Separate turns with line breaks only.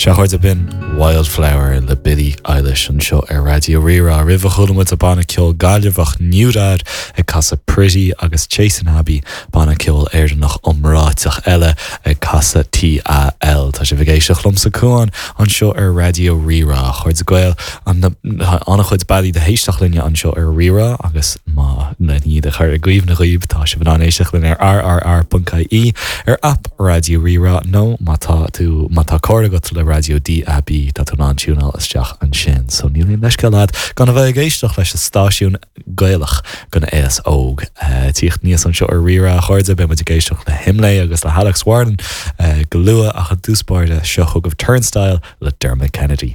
Sea, a chairde, b'in Wildflower le Billie Eilish anseo ar Raidió Rí-Rá. Roimhe chuala muid an banna ceoil Gaillimheach NewDad ag casadh Pretty agus Chasing Abbey, banna ceoil Éireannach iomráiteach eile ag casadh TAL. Tá sibh ag éisteacht liomsa Cuán anseo ar Raidió Rí-Rá. A chairde Gael, an-chuid bealaí le héisteacht linne anseo ar Rí-Rá agus má len iad a chur i gcuimhne dhaoibh tá sibh in ann éisteacht linn ar rrr.ie, ar aip Raidió Rí-Rá nó má tá tú, má tá cóir agat le raidió DAB tá tú in ann tiúnáil isteach ansin. So níl aon leithscéal agat gan a bheith ag éisteacht leis an stáisiún Gaelach don aos óg. Tíocht aníos anseo ar Rí-Rá, a chairde, beidh muid ag éisteacht le hImlé agus le hAlex Warren go luath ach i dtús báire seo chugaibh Turnstile le Dermot Kennedy.